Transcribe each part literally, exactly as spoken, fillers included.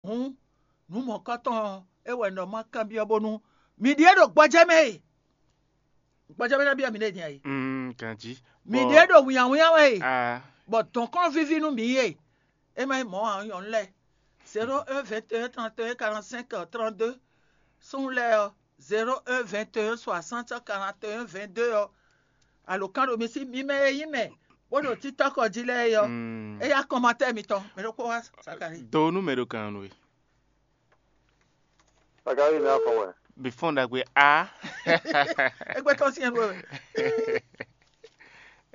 Hǔn, nǔ mɔ̌kɔtɔn ɔ́, é wɛ un ɖɔ má kanbyɔ́ bónú mi ɖíe ɖo gbɔjɛ́ mɛ e. Gbɔjɛ́ mɛ ná byɔ́ mi ɖée din a? Mm, ganjí. Mǐ ɖíe ɖo wínnyáwínnyá wɛ e, ah, bɔ dɔ̌nkɔ́n víví nú mǐ e. É má nyí mɔ̌ ǎ, nyɔ̌nu lɛ́ɛ. Zéro un vingt et un trente et un quarante-cinq trente-deux. Súnnu lɛ́ɛ ɔ́, zéro un vingt et un soixante quarante et un vingt-deux ɔ́, alǒkan ɖo mi sí, mi mɛ e nyí mɛ bó ɖo títɔ́kɔ jí lɛ́ɛ é ɔ́, mm, é yá kɔnmatɛ́ mitɔn, mɛ ɖokpó wá Sakali. Do nú mɛ ɖo kan nú we. Sakali ní afɔ wɛ. Before ɖagbe a. Égbé tɔn sí ɛn wɛ.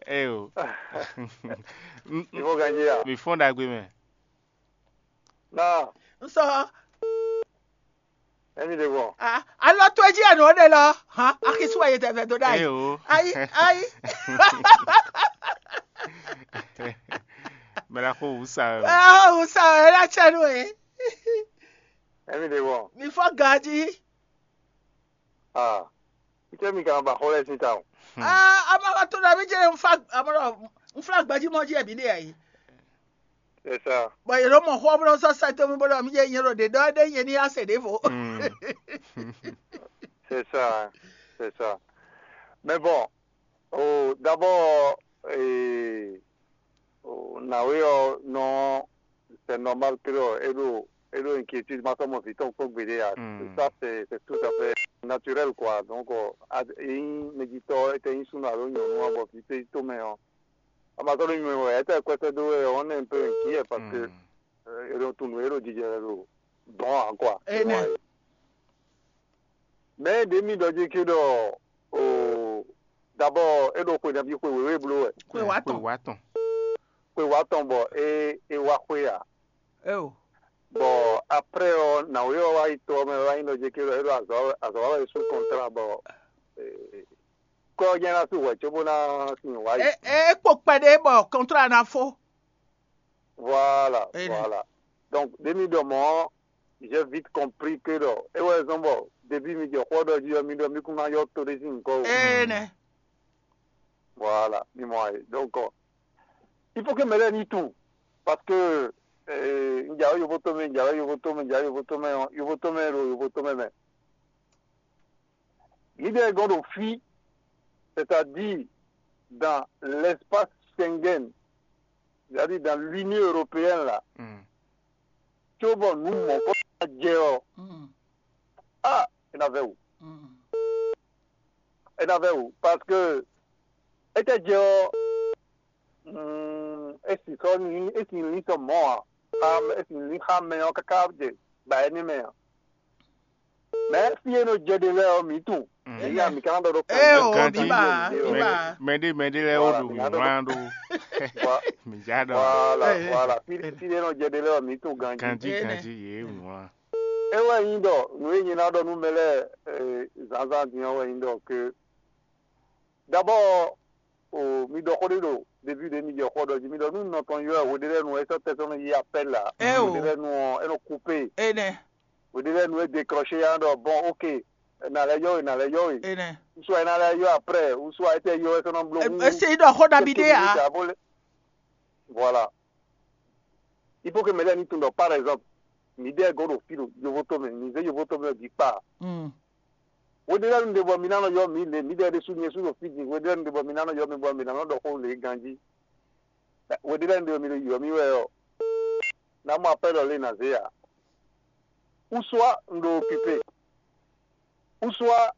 Eyo. Ìfɔ ganjí a. Before ɖagbe mɛ. Náà. N sɔ. Ɛmi ɖe gbɔn. Ah, alɔ tó jí ɛnu ɖe lɔ. Hã, akisu ayi tɛ vɛ do ɖe ayi. Eyo. Ayi, ayi. Mɛ la xo wusa. Ah, wusa ɛ la tsɛ nu e. Ɛmi ɖe gbɔn. Mi fɔ ganjí. Ah, ike mi kan ba xɔ lɛ sin ta o. Ah, ama ka to na mi jɛ n fa, ama n fla gbaji mɔ ji ɛbi de ayi. C'est ça. Bon, yelo mɔ xɔ bro so sa to mi bro mi jɛ nyero de do de nyeni ase de vo. C'est ça, c'est ça. Mais bon, oh, d'abord, eh, oh, na oui, oh, non, c'est normal que, oh, et le, et le inquiétude, ma somme vite, on peut guérir. Ça, c'est, c'est tout à fait naturel, quoi. Donc, oh, ad, in, méditor, et in, sous la réunion, on va vite, tout, mais, oh, ama sɔ́ ɖo nyume wɛ, étɛ́ kwɛ́sɛ́ dó wɛ, on est un peu inquiet parce que, euh, e ɖo tunwun e ɖo jijɛ wɛ ɖo dɔn ǎ, quoi. Énɛ́. Mɛ ɖě mi ɖɔ jí ké ɖɔ, o, d'abord é ɖo xwe nabí xwe wěwé bló wɛ. Xwe wá tɔn. Xwe wá tɔn. Xwe wá tɔn bɔ é é wá xwe ǎ. Eo. Bɔ après ɔ́, nǎwe ɔ́ wá yi to ɔ́ mɛ wá nyí ɖɔ jí ké ɖɔ é ɖo azɔ̌ azɔ̌ wa wɛ sous contrat bɔ kɔ́ ɔ́ jɛ́n ná sú hwɛ̌ cóbó ná sin wǎ yi. É é kpo kpɛɖé bɔ contrat ná fó. Voilà, voilà. Donc ɖě mi ɖɔ mɔ̌, j'ai vite compris que ɖɔ é wɛ zɔ́n bɔ début mi jɛ xó ɔ́ ɖɔ jí ɔ́, mi ɖɔ mi kún ná yɔ to ɖé sín nyǐkɔ o. Énɛ́. Voilà, mi mɔ ayé. Donc il faut que mɛ lɛ́ɛ ní tunwun, parce que un jǎwe yovo tomɛ, un jǎwe yovo tomɛ, un jǎwe yovo tomɛ ɔ́, yovo tomɛ ɖo yovo tomɛ mɛ. Mǐdɛɛ gɔ́n ɖo fí, c'est-à-dire dans l'espace Schengen, c'est-à-dire dans l'Union européenne là, cóbɔ nǔ mɔ̌kɔ ná jɛ ɔ́, ah, é ná vɛ́ wǔ. É ná vɛ́ wǔ, parce que étɛ́ jɛ ɔ́, é sì sɔ́ é sì lín sɔ mɔ̌ ǎ. É sì lín xá mɛ ɔ́ káká jɛ ba énɛ́ mɛ ǎ. Mɛ fí e nɔ jɛ ɖe lɛ́ɛ ɔ́, mǐ tunwun. Mǐ ya mǐ ka ná ɖɔ ɖó kan. Ée o, mǐ ba, mǐ ba. Mɛɖé mɛɖé lɛ́ɛ ó ɖo wǐwlán ɖó. Mǐ já ɖɔ. Voilà, voilà. Fí fí e nɔ jɛ ɖe lɛ́ɛ ɔ́, mǐ tunwun ganjí. Ganjí ganjí yě wǐwlán. É wɛ nyí ɖɔ nǔ e nyí ná ɖɔ nú mɛ lɛ́ɛ zǎnzǎn din ɔ́ wɛ nyí ɖɔ ke. D'abord, o mi ɖɔ xó ɖé ɖo début ɖě mi jɛ xó ɖɔ jí mi ɖɔ nú nɔ tɔn ylɔ́ ɛ hweɖé lɛ́ɛ nu ɛ sɔ́ tɛ́ sɔ́ nɔ yí appel ǎ. Eo. Hweɖé lɛ́ɛ nu ɔ́ é nɔ coupé. Énɛ́. Hweɖé lɛ́ɛ nu é décroché yá ɖɔ bon ok, nà lɛ yɔ we, nà lɛ yɔ we. Énɛ́. Ou soit é ná lɛ yɔ après, ou soit é tɛ yɔ é sɔ́ nɔ bló. Esi ɖɔ xó ɖabi ɖé ǎ. Voilà. Il faut que mɛ lɛ́ɛ ní tunwun ɖɔ par exemple, mǐdɛɛ gɔ́n ɖo fí ɖo yovotomɛ, mǐ zé yovotomɛ bǐ kpa. Hweɖé lɛ́ɛ nu ɖe bɔ mi ná nɔ ylɔ́ mǐ lě, mǐdɛɛ ɖésú nyɛ sú ɖo fí din, hweɖé lɛ́ɛ nu ɖe bɔ mi ná nɔ ylɔ́ mì bɔ mǐ ná nɔ ɖɔ xó lě ganjí. Hweɖé lɛ́ɛ nu ɖe bɔ mi ɖo ylɔ́ mì wɛ ɔ́, ná mɔ apɛ́lɔ lě ná zé ǎ. Ou soit un ɖo occupé, ou soit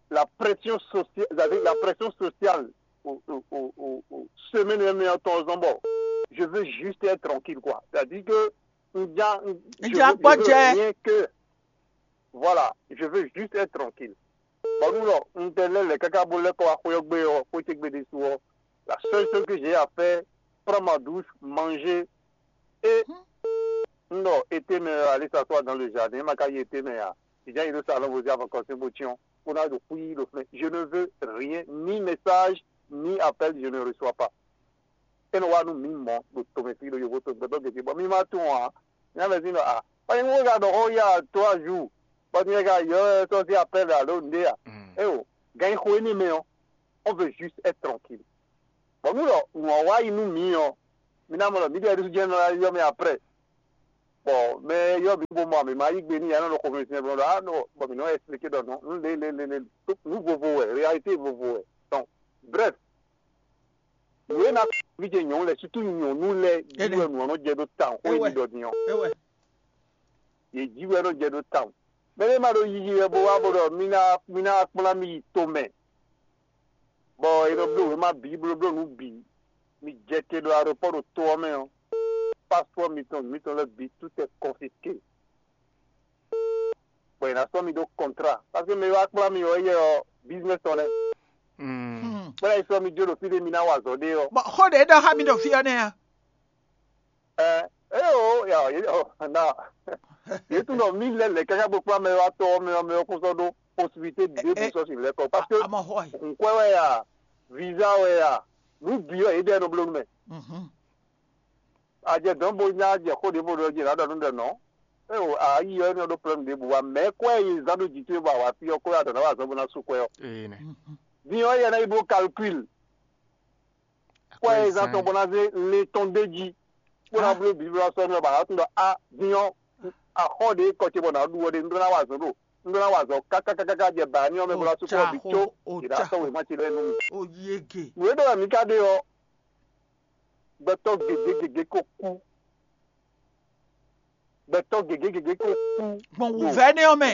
la pression sociale, c'est-à-dire la pression sociale au, au, au, au, au semaine même en temps, bon, je veux juste être tranquille, quoi. C'est-à-dire que un gars, je, veux, je veux rien que, voilà, je veux juste être tranquille. Bon, nous, là, on était là, les caca, bon, les quoi, quoi, quoi, quoi, quoi, quoi, quoi, quoi, la seule chose que j'ai à faire, prendre ma douche, manger et non, été mais aller s'asseoir dans le jardin, ma caille été mais ah, déjà il nous allons vous dire encore c'est beau tiens, on a de fouiller le flin. Je ne veux rien, ni message, ni appel, je ne reçois pas. Et nous nous mimons, nous tomber sur le yovo, tout le monde qui dit bon, mi ma tout hein. Mi a dit non ah, pas une fois dans le ya trois jours, pas une fois il y a un sorti appel à l'onde ah. Eh oh, gagne quoi ni mais on veut juste être tranquille. Bon, nous là, nous on va nous mi on, mi n'a pas mis des gens dans la après. Bɔ mɛ yɔ mi bo mɔ mi ma yí gbe n'i ya nɔ ɖo xomɛ sin bɔ ɖɔ a nɔ bɔ mi nɔ expliquer ɖɔ nɔ nu le le le le nu vovo wɛ, réalité vovo wɛ. Donc, bref, nǔ e na vi ce nyɔ̌nu lɛ, surtout nyɔ̌nu lɛ jí wɛ nǔ ɔ́ nɔ jɛ ɖó tawun xó e ɖɔ din ɔ́. Yě jí wɛ nɔ jɛ ɖó tawun. Mɛ ɖé ma ɖo yiyi wɛ bó wá bó ɖɔ mi ná mi ná kplá mi yi tomɛ, bɔ è nɔ bló wěma bǐ blóbló nǔ bǐ. Mi jɛ te ɖo aeropɔ́ ɖo to ɔ́ mɛ ɔ́, passeport mitɔn mitɔn lɛ́ɛ bǐ tout est confisqué. Bɔ è nǎ sɔ́ mi ɖó contrat, parce que mɛ e wá kplá mi ɔ́, éyɛ́ ɔ́, business tɔn nɛ́. Bɔ é ná yi sɔ́ mi jó ɖo fí ɖé mi ná wa azɔ̌ ɖe ɔ́. Bɔ xó ɖě ɖɔ xá mi ɖo fí ɔ́ nɛ́ a? Ɛ eo ya ɔ na yě tunɔ mí lɛ lɛ káká bó kplá mɛ wá tɔ mɛ ɔ́ mɛ ɔ́ kún sɔ́ ɖó possibilité ɖěbǔ sɔ́ sin lɛ́ kɔ, parce que hunkwɛ wɛ ya, visa wɛ ya, nǔ bǐ wɛ yě ɖɛ nɔ bló nú mɛ. A jɛ dɔ̌n bó nya jɛ xó ɖěvo ɖɔ jí nǎ ɖɔ nú ɖɔ nɔ̌. Eo a yi ɔ́ énɛ́ ɖó problème ɖěbǔ wa mɛ̌ kwɛ́ e zán ɖó jǐ towe bɔ a wǎ fí ɔ́ kó wá ɖɔ nǎ wa zɔ̌ bó ná sú kwɛ́ ɔ́. Din ɔ́ yɛ ná yi bló calcul. Kwɛ́ e zán tɔn bó ná zé le tɔn d'é jí, bó ná bló Biblu ɔ́ sɔ́ nú ɔ́, bɔ a nǎ tunwun ɖɔ a din ɔ́, axɔ́ ɖě kɔ ce bɔ nǎ ɖu ɔ́ ɖe, un ɖó ná wa azɔ̌ ɖo un ɖó ná wa azɔ̌ kákákáká jɛ bǎ ní ɔ́ mɛ bó ná sú kɔ bǐ có. È nǎ sɔ́ wěma ce lɛ́ɛ nú mì. Nǔ e ɖɔ wɛ mǐ ka ɖe ɔ́, gbɛtɔ́ gěgé gěgé ko kú. Gbɛtɔ́ gěgé gěgé ko kú. Gbɔn wǔvɛ́ nɛ́ ɔ́ mɛ.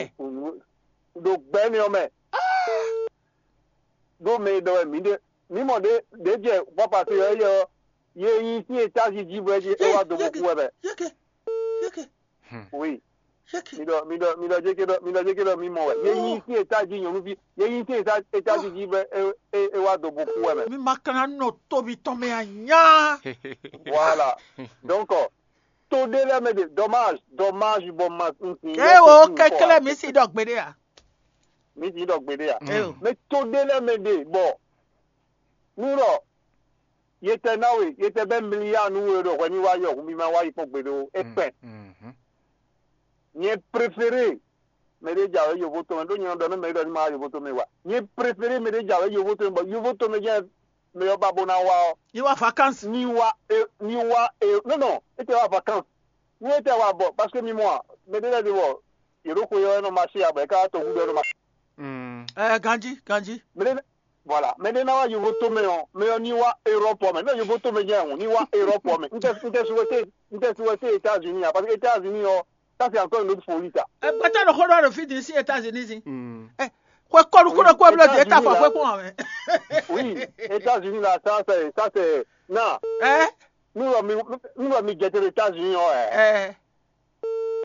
Ɖo gbɛ́ nɛ́ ɔ́ mɛ. Ɖó mɛ e ɖɔ wɛ mǐ ɖe mǐ mɔ ɖě ɖě jɛ bɔ pase ɔ́ éyɛ́ ɔ́, yě nyi sín étazi jí bɔ é jí é wá do bó kú wɛ mɛ. Yéke, yéke, Oui. Yéke. Mi ɖɔ mi ɖɔ mi ɖɔ jéké ɖɔ mi ɖɔ jéké ɖɔ mi mɔ wɛ. Yě nyi sín étazi nyɔ̌nuví yě nyi sín étazi jí bɔ é é é wá do bó kú wɛ mɛ. Mi ma ka ná nɔ tóbi tɔn mɛ a nyá. Voilà. Donc to ɖé lɛ́ɛ mɛ ɖe dommage dommage bɔ ma. Ké wo kɛklɛ mi si ɖɔ gbeɖe a? Mi si ɖɔ gbeɖe a? Eo. Mais to ɖé lɛ́ɛ mɛ ɖe bɔ nú ɖɔ yetɛ ná we yetɛ bɛ́ miliya nú we ɖo hwɛ ní wá yɔ hun bí ma wá yi kpɔ́n gbeɖé o é kpɛn. Nyɛ préféré mɛ ɖé jɛ awě yovo tɔn mɛ ɖó nyɛ nɔ ɖɔ nú mɛ ɖɔ ní ma wá yovo tɔn mɛ wa nyɛ préféré mɛ ɖé jɛ awě yovo tɔn mɛ bɔ yovo tɔn mɛ jɛ mɛ ɔ́ ba bó ná wá ɔ́. Yi wá vacances. Ní wá e ní wá e non non é tɛ wá vacances. Ní é tɛ wá bɔ parce que mi mɔ a mɛ ɖé lɛ́ɛ ɖe bɔ yě ɖo xwe ɔ́ é nɔ ma sí a bɔ é ká wá tɔgúdɔ é nɔ ma. Ɛ ganjí ganjí. Mɛ ɖé voilà mɛ ɖé ná wá yovo tó mɛ ɔ́ mɛ ɔ́ ní wá Europe ɔ́ mɛ ní yovo tó mɛ jɛ ɛhun ní wá Europe ɔ́ mɛ n tɛ n tɛ souhaité n tɛ souhaité États-Unis a parce que États-Unis ɔ́ ça c'est encore une autre folie ça. Ɛ gbɛtɛ ɖo xó ɖɔ ɖo fí din sí États-Unis si. Ɛ xwe kɔlu kúrò kó blɔ dé ta fɔ xwe kpɔn wɛ. Oui, États-Unis là ça c'est ça c'est na. Ɛ. Nous mi nous mi jẹ États-Unis ɔ́ ɛ. Ɛ.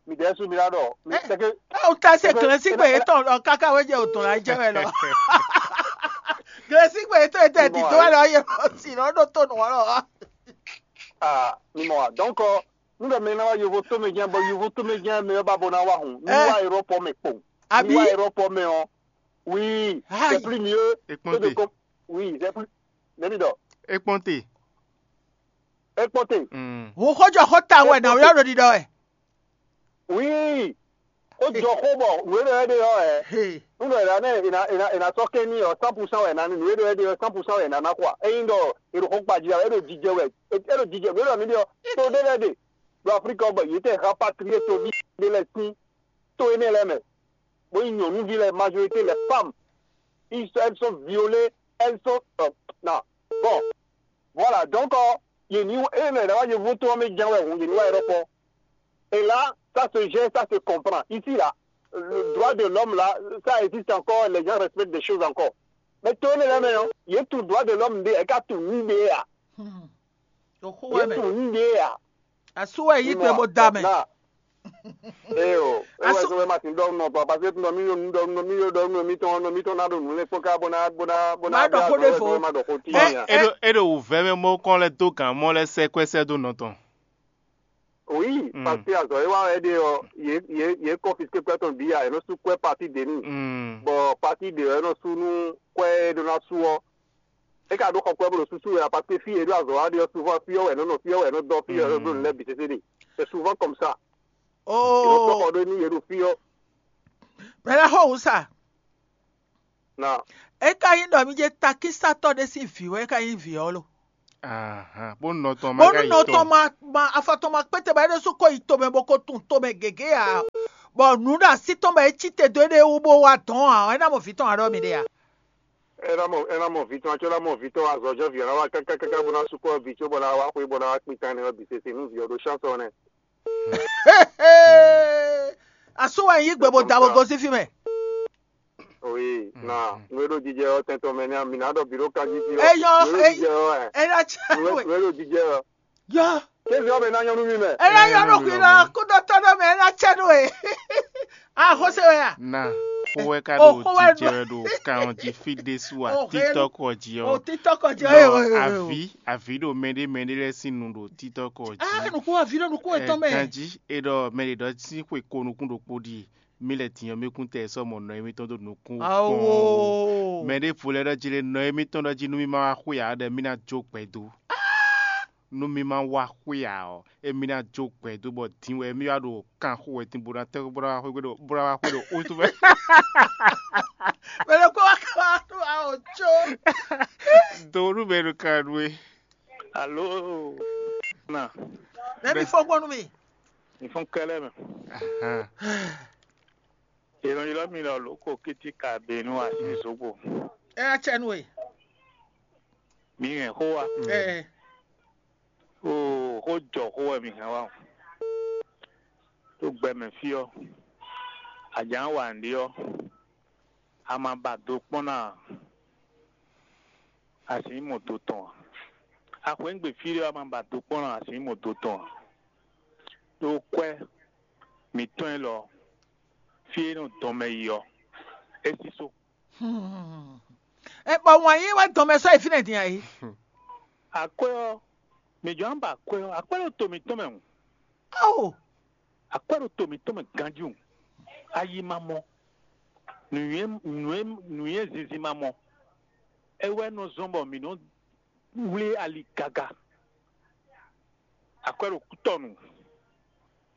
Mi ɖɛ su mi la ɖɔ mi tɛke. Aw ta se gɛlɛsigbe yetɔn lɔ kaka wɛ jɛ o tɔn la jɛ wɛ lɔ. Gɛlɛsigbe yetɔn yetɔ ti to wɛ lɔ ye si lɔ ɖo to nɔ lɔ. Ah, mi mɔ wa donc nu ɖɔ mɛ na wa yovo to mɛ jɛn bɔ yovo to mɛ jɛn mɛ ba bo na wa hun mi wa Europe mɛ kpɔn. Abi mi wa Europe mɛ ɔ. Oui, c'est plus mieux que de com oui c'est plus. Nɛbi dɔ. Ekpɔnte. Ekpɔnte. Wò xɔjɔ xɔ ta wɛ na yɔ ɖo ɖiɖɔ wɛ. Oui. Ó jɔ xó bɔ nǔ e ɖɔ é ɖe ɔ́ ɛ. Nú ɖɔ è nǎ nɛ è nǎ è nǎ è nǎ sɔ́ kɛ́n n'i ɔ́, cent pour cent wɛ è nǎ ní. Nǔ e ɖɔ é ɖe ɔ́, cent pour cent wɛ è nǎ ná kɔ a? Ényí ɖɔ è ɖo xó kpa jí a, é ɖo jijɛ wɛ, é ɖo jijɛ nǔ e ɖɔ mǐ ɖe ɔ́, to ɖé lɛ́ɛ ɖe ɖo Aflíka ɔ́ bɔ yě tɛ hán patríé toví ɖé lɛ́ɛ sín to énɛ́ lɛ́ɛ mɛ, bó nyí nyɔ̌nuví lɛ́ɛ, majorité les femmes, ils sont elles sont violées, elles sont euh, non. Bon, voilà, donc euh, yě ní é lɛ wá yovó tó ɔ́ mɛ jɛ́n wɛ hǔn yě ní wá Europe ɔ́. Et là, ça se gère, ça se comprend. Ici là, le droit de l'homme là, ça existe encore, les gens respectent des choses encore. Mais to énɛ́ lɛ́ɛ mɛ ɔ́, yě tunwun droit de l'homme ɖé, yě ká tunwun nǔ ɖé ǎ. Yě tunwun nǔ ɖé ǎ. Asú wɛ yí gbe bó da mɛ. Ee o, ewɛ sɔ wɛ ma sin ɖɔ nɔ tɔ parce que nɔ mi yɔ nu ɖɔ nɔ mi yɔ ɖɔ nɔ mi tɔn nɔ mi tɔn na ɖo nu lɛ kpɔn ká bó na bó na bó na. Ma ɖɔ xó ɖe fo. Ma ɖɔ xó ti nya. E ɖo e ɖo wǔvɛ́ mɛ mɔ kɔn lɛ dó gǎn mɔ lɛ sɛ kwɛ́ sɛ dó nɔ tɔn. Oui, parce que azɔ e wa wɛ ɖe ɔ, ye ye ye confisqué kwɛ́ tɔn bǐ a, e nɔ sú kwɛ́ parti de ni. Bɔ parti de ɔ, e nɔ sú nú kwɛ́ e ɖó ná sú ɔ. E ka ɖó xɔ kwɛ́ bó ɖo súsú wɛ a, parce que fí e ɖó azɔ wa ɖe ɔ, souvent fí ɔ wɛ nɔ nɔ fí ɔ wɛ nɔ dɔ fí ɔ wɛ nɔ bló nǔ lɛ́ɛ bǐ sésé ɖe. C'est souvent comme ça. Oh. Xɔ ɖó ní yě ɖo fí ɔ. Bɛlɛ xɔ wǔ sa. Na. E ka nyí ɖɔ mi jɛ takísatɔ ɖé sín vǐ wɛ e ka nyí vǐ ɔ́ lo. Ahan, bó nɔ tɔn ma bónú ka yi nɔ tɔn tɔn. Ma ma afɔ tɔn ma kpéte bɔ é ɖésú ko yi tomɛ bó ko tun tomɛ gěgé ǎ. Bɔ nǔ ɖo así tɔn bɔ é cí te dó éɖée wú bó wá dɔn ǎ, é ná mɔ vǐ tɔn ǎ ɖɔ mi ɖe ǎ. É ná mɔ é ná mɔ vǐ tɔn, acó ná mɔ vǐ tɔn azɔ̌jɔ́ vǐ ɔ́ ná wá káká káká bó ná sú kɔ vǐ có bɔ ná wá xwé bɔ ná wá kpin tán nɛ́ ɔ́ bǐ sese nú vǐ ɔ́ ɖó chance ɔ́ nɛ́. Asú wɛ yí gbe bó da bó gosín fí mɛ. Oui, na nú é ɖo jijɛ ɔ́ tɛn tɔn mɛ ní mi ná ɖɔ bǐ ɖo kanjí jí ɔ́. Eyɔ Nú é ɖo jijɛ ɔ́ ɛ. Ena cɛ Nú é- we. Nú é ɖo jijɛ ɔ́. Yɔ. Kévi ɔ́ mɛ ná nyɔ́ nú mi mɛ. Ena yɔ ɖo kwi lɔ kúdɔtɔ ɖɔ mɛ ena cɛ ɖo e. Axɔse wɛ ya. Na xó wɛ ka O ɖo xó wɛ jijɛ wɛ ɖo kan ɔ́ jí fí ɖésú a O xé- títɔ́kɔ jí O ɔ́. Títɔkɔ jɛ Ɖɔ o. Avi avi ɖo mɛɖé mɛɖé lɛ́ɛ sín nu ɖo títɔ́kɔ jí. Ah, nukú avi ɖo nukú etɔn mɛ. Kanjí e ɖɔ mɛ ɖě ɖɔ sín xwe ko nukún ɖokpó ɖíe. Mí lɛ din ɔ́ mí kún tɛ sɔ́ mɔ nɔ émítɔn dó nukún kpɔ́n. Awo. Mɛ ɖěvo lɛ́ɛ ɖɔ jí lé nɔ émítɔn ɖɔ jí nú mí ma wá xwe ǎ ɖɔ mí ná jó gbɛ dó. Nú mí ma wá xwe ǎ ɔ́, émí ná jó gbɛ dó bɔ din wɛ émí wá ɖo kan xo wɛ din bó ná tɛ́ bó ná wá xwe ɖo bó ná wá xwe ɖo wútu mɛ. Mɛ ɖokpó wá ká wá ɖo awo có. Do nú mɛ ɖo kan nú é. Alo, na, Mɛ mi fɔ gbɔn nú mi. Nifɔn kɛlɛ mɛ. Ahan. Ylɔ́ylɔ́ mi lɔ lǒ ko kítíkà běnú así zǒgbo. Ɛ acɛnu e. Mi hɛn xó wa. Ɛ. Oo, xó jɔ xó wɛ mi hɛn wa o. Tó gbɛ mɛ fí ɔ́, a jǎ wa nǔɖé ɔ́, a ma ba do kpɔ́n ná a? A sǐ mɔ do tɔn a? A xweyǐgbe fí ɖé ɔ́, a ma ba do kpɔ́n ná a? A sǐ mɔ do tɔn a? Ɖó kwɛ́ mǐtɔn élɔ́, fí e nɔ dɔn mɛ yi ɔ́, é sísó. Ɛ bɔ wǎn yí wɛ dɔn mɛ sɔ́ yi fínɛ́ din ayǐ. Akwɛ́ ɔ́, mǐ jɔ́ ná ba akwɛ́ ɔ́, akwɛ́ ɖo to mǐtɔn mɛ hǔn. Ao, Akwɛ́ ɖo to mǐtɔn mɛ ganjí hǔn. Ayi ma mɔ. Nǔnywɛ́ nǔnywɛ́ nǔnywɛ́ zinzin ma mɔ. É wɛ nɔ zɔ́n bɔ mǐ nɔ wlí ali gaga. Akwɛ́ ɖo kútɔnu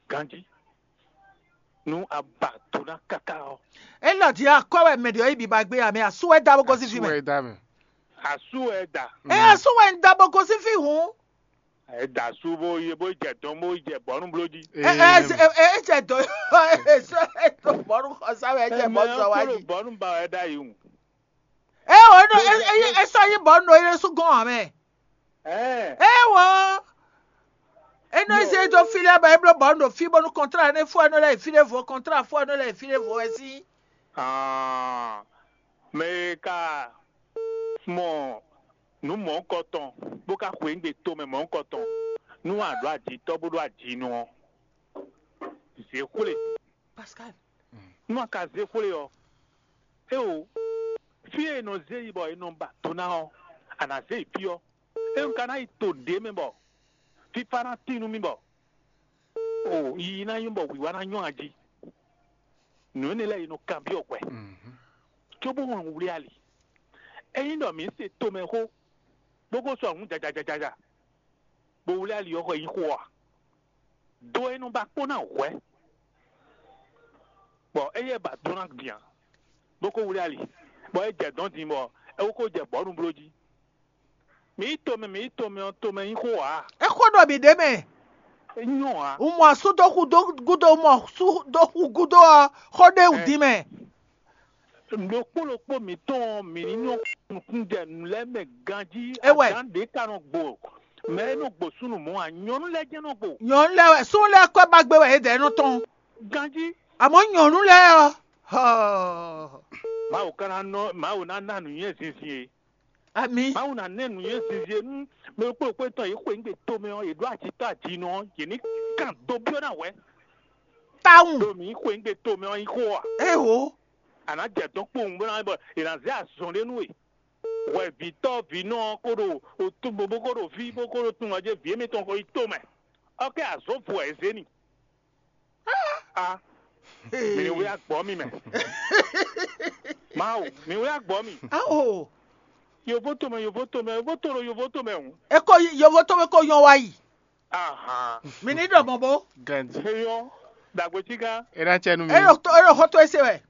ganjí. Nú a ba do ná káká ɔ́, É lɔ din akɔ wɛ mɛ ɖě ɔ́ yi biba gbé amɛ asú wɛ da bó gosín fí Asú mɛ. Wɛ da mɛ. Asú wɛ da. Ɛ asú wɛ ń da bó gosín fí hǔn. Ɛ da asú bó yi bó jɛ dɔn bó jɛ bɔ̌nu bló jí. Ɛ ɛ ɛ ɛ jɛ dɔ ɛ sɔ ɛ dɔ bɔnu xɔsa wɛ ɛ jɛ Mɛ bɔ ɔ́ sɔ wá kó ɖo jí. Bɔ̌nu ba wɛ ɖ'ayǐ hǔn. Ɛ o ɛ nɔ ɛ ɛ ɛ sɔ yí bɔnu ɖo yɛ sú gɔn amɛ. Ɛ Ɛ wɔ. Eno Yo. Eze do fili aba eblo bɔnu ɖo fi bɔnu kɔntra ne fo eno lɛ fi ɖe vo kɔntra fo eno lɛ fi ɖe vo ɛ si. Ah, mɛ e ka mɔ nǔ mɔ̌hunkɔtɔn bó ka xweyǐgbe tomɛ mɔ̌hunkɔtɔn nú a ɖǒ ajitɔ́ bó ɖó ajinɔ ɔ́, zě xwlé. Pascal. Nú a ka zé xwlé ɔ́, éwo, fí e è nɔ zé yi bɔ è nɔ ba do ná ɔ́, a nǎ zé yi fí ɔ́. É un ka ná yi to ɖě mɛ bɔ fífá ná tín nú mì bɔ o yiyi ná nyɔ́ bɔ wǐwá ná nyɔ́ a jí. Nǔ énɛ́ lɛ́ɛ è nɔ kanbyɔ́ hwɛ, cóbó hɔn wlí ali. Ényí ɖɔ mǐ se tomɛxó, bó ko sɔ́ nǔ jajajajaja, bó wlí ali ɔ́ xɔ nyí xó ɔ́ a? Do e nɔ ba kpó ná hwɛ̌, bɔ éyɛ́ ba dó ná din ǎ, bó ko wlí ali, bɔ é jɛ dɔ̌n din bɔ é ko jɛ bɔ̌nu bló jí. Mǐ yi tomɛ, mǐ yi tomɛ ɔ́, tomɛ nyí xó ǎ. É xó ɖɔ mǐ ɖ'é mɛ. É nyɔ́ ǎ. Un mɔ asú dó xú dó gúdo, un mɔ asú dó xú gúdo ɔ́, xó ɖ'é wú Ɛ. Din mɛ. Ɖokpó ɖokpó mǐtɔn ɔ́, mǐ ní nyɔ́ nukúnjɛ nǔ lɛ́ɛ mɛ ganjí. É wɛ. Azǎn ɖě ka nɔ gbo. Mɛ e nɔ gbo súnnu mɔ̌ ǎ, nyɔ̌nu lɛ́ɛ jɛ́n nɔ gbo. Nyɔ̌nu lɛ́ɛ wɛ, súnnu lɛ́ɛ kɔ́ ba gbé wɛ yědɛɛ nɔ tɔn. Ganjí. Àmọ́ nyɔ̌nu lɛ́ɛ ɔ́, hɔɔ. Mawu ka ná nɔ, Mawu ná ná nǔnywɛ́ zinzin e. Ami. Mawu ná nɛ nǔnywɛ́ zinzin e nú mɛ ɖokpó ɖokpó tɔn yě xweyǐgbe tomɛ ɔ́, yě ɖó acitɔ́ ajinɔ ɔ́, yě ní kan dó byɔ́ ná hwɛ̌. Tawun. Ɖo mǐ xweyǐgbe tomɛ ɔ́ nyí xó ɔ́ a? Éwo. A nǎ jɛ dɔn kpowun bó ná bɔ è nǎ zé azɔn ɖé nú we. Hwɛvǐtɔ́ vǐnɔ ɔ́ kó ɖo otúnbo bó kó ɖo fí bó kó ɖo tunwun ɔ́ jɛ vǐ émítɔn ko yi tomɛ. Ɔ́ kɛ azɔ̌ vo ɛ zé ni. A mi ní wlí agbɔ̌ mi mɛ. Mawu, mi wlí agbɔ̌ mi. Awo. Yovo tomɛ, yovo tomɛ, yovo to ɖo yovo tomɛ hǔn. E ko yovo tomɛ ko yɔn wa yi. Ahan. Mi ní ɖɔ mɔ bó. Gandhi. Eyɔ, dàgbé tí gán. E ná cɛ nu mi. E ɖo to e ɖo xɔ to ese wɛ.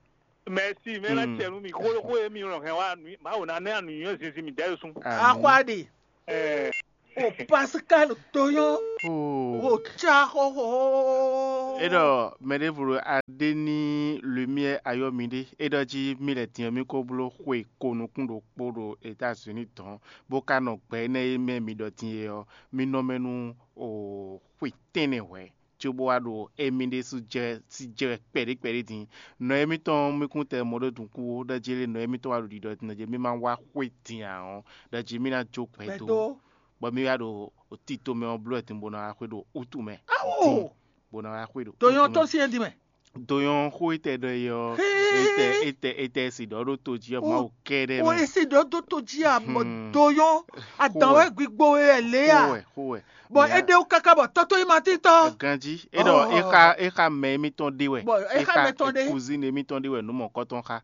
Mɛsi mɛ ná cɛ nu mi xó xó e mi nɔ hɛn wá nu Mawu ná nɛ anu yɔn zinzin mi dɛ sun. Amen. Akwa ɖi. Ɛɛ. O Pascal Toyon, o tsa xɔxɔ. É ɖɔ mɛ ɖěvo ɖo adé ní lumière ayɔ́ mi ɖé. É ɖɔ jí mì lɛ́ din ɔ́, mì ko bló xwe ko nukún ɖokpó ɖo États-Unis dɔn, bó ka nɔ gbɛ énɛ́ e mɛ mi ɖɔ din é ɔ́, mì nɔ mɛ nú o xwe tɛ́nnɛ hwɛ̌, cóbó wá ɖo émí ɖésú jɛ sí jɛ wɛ kpɛɖé kpɛɖé din. Nɔ émítɔn mì kún tɛ mɔ ɖó dun kú ó, ɖɔ jí lé nɔ émítɔn wá ɖo ɖiɖɔ din, ɖɔ jí mì ma wá xwe din ǎ ɔ́, ɖɔ jí mì ná jó gbɛdó, bɔ mì wá ɖo tito mɛ ɔ́ bló wɛ din bó ná wá xwe ɖo wútu mɛ. Awo! Bó ná wá xwe ɖo Toyɔn tɔn sín é din mɛ. Doyɔn xó e tɛ ɖɔ é ɔ́, Hee! Etɛ etɛ etɛ si ɖɔ ɖó to jí ɔ́, Mawu kɛ́ɖɛ́ O mɛ. Esi ɖɔ dó to jí a mɔ Hmm. Doyɔn adan Xó wɛ. Wɛ gbigbo wɛ lé Xó a. Wɛ, xó wɛ. Bɔn Mɛ é ɖe wó káká bɔ tɔ́tɔ́ yi ma tín tɔ́. Ganji, é ɖɔ Oh. é xa é xa mɛ émítɔn ɖé wɛ. Bɔn é xa mɛ tɔn ɖé. Kuzín émítɔn ɖé wɛ nǔ mɔ̌kɔtɔn xa.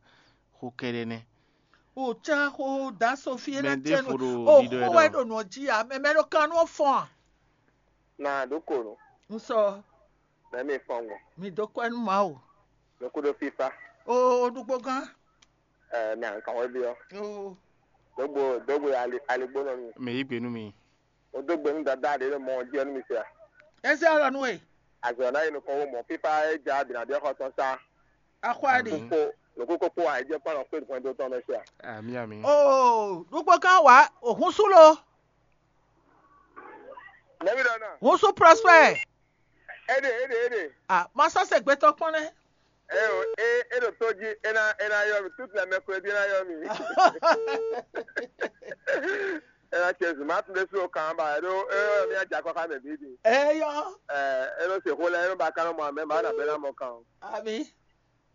Xó kɛ́ɖɛ́ nɛ́. O tsá xó da Sofi é Mɛ ná ɖé tɛnu. Fo ɖo O ɖiɖɔ xó ɛ wɛ ɖɔ. Ɖo nɔ jí a mɛ mɛ ɖo kan nú fɔn a. Na ɖokonu. N sɔ. Mɛ mi fɔn gbɔn. Mi dó kɔ́ nú Mawu. Nukú ɖo fífá. O o ɖugbo gán. Ɛ na nkan wɛ bi ɔ. O Dogbo dogbo ali aligbó nɔ mi. Mɛ yí gbe nú mi. O dogbo nú dada ɖe ɖo mɔ jí ɔ nú mi se a. Eze alɔ nú e. Azɔ na yi nukɔn wo mɔ fífá e ja bina ɖe xɔ tɔn sa. Axɔ aɖe. Ko nukú kókó a jẹ kpɔnɔ kpé hwɛndo tɔn mɛ se a. Ami ami. O ɖugbo gán wa òhun sú lo. Nɛbi ɖɔ na. Hun sú Prosper. Eɖe eɖe eɖe. Ah, ma sɔ́ se gbɛtɔ́ kpɔ́n nɛ́. Eo e e ɖo tó jí e ná e ná yɔ mi toute la mercredi e ná yɔ mi. E ná tiɛ zuma tún ɖé sú o kan ba e ɖo e yɔ mi adza kɔ xá mɛ bíbí. Eyɔ. Ɛ e ɖo se xó lɛ e ɖo ba kan mɔ amɛ ma na bɛ na mɔ kan o. Ami.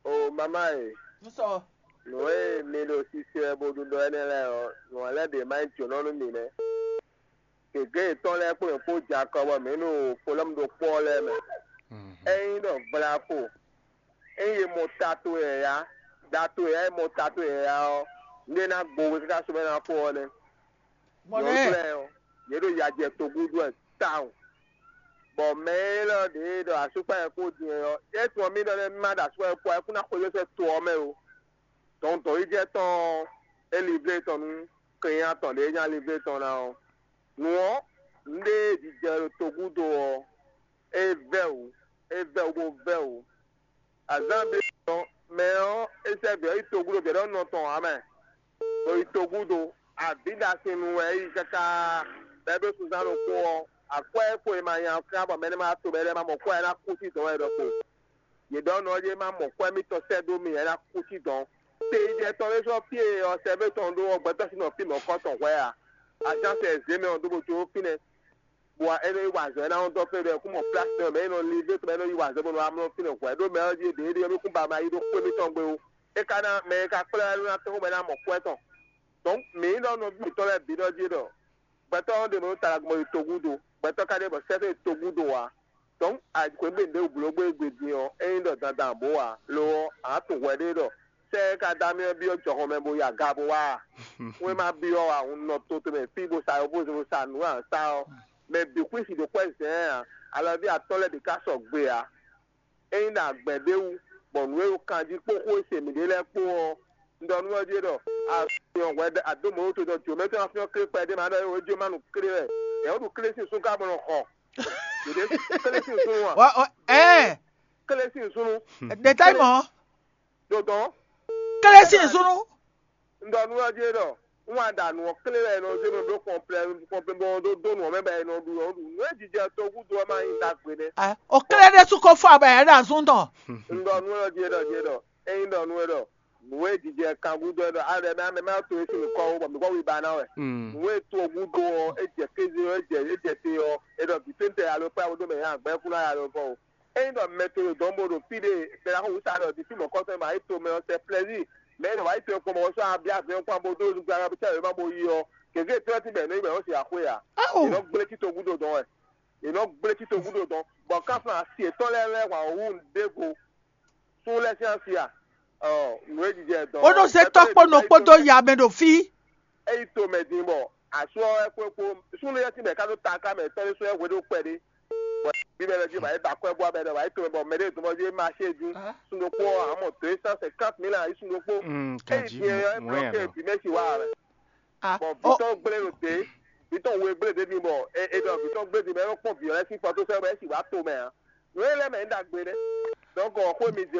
O mama e. N sɔ. Nǔ e mi ɖo sise wɛ bo ɖu ɖɔ énɛ́ lɛ́ɛ ɔ́, nǔ ɔ́ lɛ́ ɖě má nyí jǒnɔ nú mi nɛ́. Gěgé yětɔn lɛ́ɛ kpó yě kpó jɛ akɔ bɔ mǐ ɖo folɔ́mu ɖokpó ɔ́ lɛ́ɛ mɛ. Ényí ɖɔ vlafo, ényí è mɔ ta towe yǎyá, ɖa towe yǎyá, è mɔ ta towe yǎyá ɔ́, nú é ná gbo we káká sɔ́ bɔ é ná fó ɔ́ nɛ́. Mɔ Nyɔ̌nu lɛ́ɛ. Lɛ́ɛ ɔ́, yě ɖo ya jɛ togúdo wɛ tawun. Bɔ mɛ élɔ́ ɖě e ɖɔ asúkpá yɛ kpó din ɔ́, é tunwun mì ɖɔ nɛ́ má ɖo asúkpá yɛ kpó ɔ́, é kún ná xwedó sɛ́ to ɔ́ mɛ ó. Dɔn dɔ̌n yi jɛ tɔn ɔ́, é liblé tɔn nú kɛnnyá tɔn ɖě e nya liblé tɔn ná ɔ́. Nǔ ɔ́, nǔɖé e jijɛ ɖo togúdo ɔ́, é vɛ́ wǔ, é vɛ́ wǔ bó vɛ́ wǔ. Azǎn ɖé ɔ́, mɛ ɔ́, é sɛ́ vǐ ɔ́ yi togúdo vǐ ɔ́ nɔ tɔn ǎ mɛ. Ɖo yi togúdo, avǐ ɖasin nu wɛ é yi káká, bɔ é ɖó sunzán ɖokpó ɔ́, akwɛ́ e kpo e ma nya ɔ́ ká bɔ mɛ énɛ́ ma wá to mɛ énɛ́ ma mɔ kwɛ́ ɔ́, é ná kú sín dɔ̌n wɛ ɖɔhun. Yě ɖɔ nɔ ɔ́, é má mɔ kwɛ́ mitɔn sɛ́ dó mi ǎ, é ná kú sín dɔ̌n. Te yi jɛ tɔn ɖé sɔ́ fí e ɔ sɛ́vé tɔn ɖó ɔ́, gbɛtɔ́ sín nɔ fí mɔ̌kɔ tɔn hwɛ́ ǎ. Azǎn sɛ zě mɛ ɔ́ dó bó jó fínɛ́. Bɔ é nɔ yi wa azɔ̌, é ná nɔ dɔn fɛ́n ɖɔ é kún mɔ plási tɔn mɛ é nɔ li vé tɔn mɛ é nɔ yi wa azɔ̌ bɔ nɔ amlɔ fínɛ́ hwɛ̌ ɖó mɛ ɔ́ ɖíe ɖě ɖíe mì kún ba ma yi ɖó xwé mítɔn gbe ó. É ka ná mɛ e ka kplá wɛ nú ná tɔ́n xó bɔ é ná mɔ kwɛ́ tɔn. Dɔ̌n mǐ nyí ɖɔ nɔví mǐtɔn lɛ́ɛ bǐ ɖɔ jí ɖɔ gbɛtɔ́ ɔ́ ɖe mɔ̌ ɖo talagbɔn yi togúdo, gbɛtɔ́ ka ɖe bɔ sɛ́ ɖo yi togúdo ǎ. Dɔ̌n ayǐjínxwé gbe ɖěbǔ bló gbé gbe din ɔ́, é nyí ɖɔ dandan bó ǎ. Lo ɔ́, a nǎ tunwun hwɛ ɖé ɖɔ sɛ́ e ka dó amyɔ byɔ́ jɔhɔn mɛ bó yi aga bó wá a? Xwé ma byɔ́ ǎ, un nɔ to tɔn mɛ fí bó sa yɔ́vózɛn bó sa nǔ e a nǎ sa ɔ́, mɛ bǐ xwísi ɖo kwɛ́ zɛ̌ɛn ǎ. Alɔví atɔ́ lɛ́ɛ ɖě ká sɔgbe ǎ. Ényí ɖo agbɛ̌ ɖé wú, bɔ nǔ e ɖo kan jí kpó xó e se mǐɖée lɛ́ɛ kpó ɔ́, un ɖɔ nú ɔ́ jí ɖɔ azɔn hwɛ adó mɔ̌ to tɔn jǒmɛ tɔn afyɔ́n klé kpɛɖé ma ɖɔ é jó ma nu klé wɛ. Yɛ̌ wó ɖu klé sín sún ká bɔ nɔ xɔ. Yěɖée klé sín sún wà. Wá, wá, ɛ, Klé sín súnnu. Ɖe táyì mɔ̌. Ɖo dɔn. Klé sín súnnu. Un ɖɔ nú ɔ́ jí ɖɔ un wá ɖa nǔ ɔ́ klé wɛ nɔ zé mɛ bló kɔnplɛ kɔnplɛ bɔ ɖó dó nǔ ɔ́ mɛ bɔ è nɔ ɖu ɔ́ ɖu nǔ e jijɛ togúdo ɔ́ ma nyí ɖagbe nɛ́. O klé ɖésú ko fɔ abɛ yɛ ɖo azún tɔn. Un ɖɔ nú ɔ́ jí ɖɔ jí ɖɔ ényí ɖɔ nú ɛ ɖɔ nǔ e jijɛ kangúdo ɛ ɖɔ a ɖɔ mɛ mɛ ma to é sín nukɔ ó bɔ mǐ kɔ wí ba ná wɛ. Nǔ e togúdo ɔ́ é jɛ kéze ɔ́ é jɛ é jɛ te ɔ́ é ɖɔ vǐ tɛ́ntɛ alo kpé awo dó mɛ yɛ agbɛ́ kú ná ya ɖo fɔ o. Ényí ɖɔ mɛ to ɖo dɔ̌n bo ɖo fí ɖé bɛ́ ná xo wǔ sa ɖɔ ɖi fí mɔ̌kɔ́tɔn ma yi tomɛ ɔ́ sɛ plɛ́zíi mɛ e nɔ wá yi to kpɔ́n bɔ sɔ́ abí azɔn kpɔ́n bó dó nukún aɖa bísí wěma bó yi ɔ́, gěgé tɔ́ sín bɛ̌ nɔ yi bɛ̌ nɔ se axwé ǎ. È nɔ gblé tito gúdo dɔn wɛ. È nɔ gblé tito gúdo dɔn. Bɔ kánflán asi yětɔn lɛ́ɛ lɛ́ hwan wǔ ɖěvo. Sún lɛ́ sín asi a? Ɔ, nǔ e jijɛ dɔn. Ó nɔ zé tɔ́ kpó nɔ kpódó ya mɛ ɖo fí. Eyi to mɛ din bɔ asú ɔ́ wɛ kpó kpó súnnu yɛ́ sín bɔ è ká ɖó taká mɛ tɔ́ ɖé sú wɛ hwe ɖó kpɛɖé. Bɔ bí mɛ lɔ jí bɔ é ba akwɛ́ bú abɛ ɖɔ wǎ yi to mɛ bɔ mɛ ɖé dɔn bɔ é ma ṣe dín. Sun ɖokpó ɔ́ amɔ dó é cent cinquante mille ǎ yi sun ɖokpó. Eyi din ɔ́ é blɔ́ ké bǐ mɛ si wá rɛ. Bɔ vǐ tɔn gblé ɖo dě. vǐ tɔn we gblé ɖě din bɔ è è ɖɔ vǐ tɔn gbé din bɔ é nɔ kpɔ́n vǐ ɔ́ lɛ́ɛ sín fɔ tó sɛ́ bɔ é sì wá to mɛ ǎ. Nǔ e lɛ́ɛ mɛ é ɖagbe nɛ́. Donc xwé mi din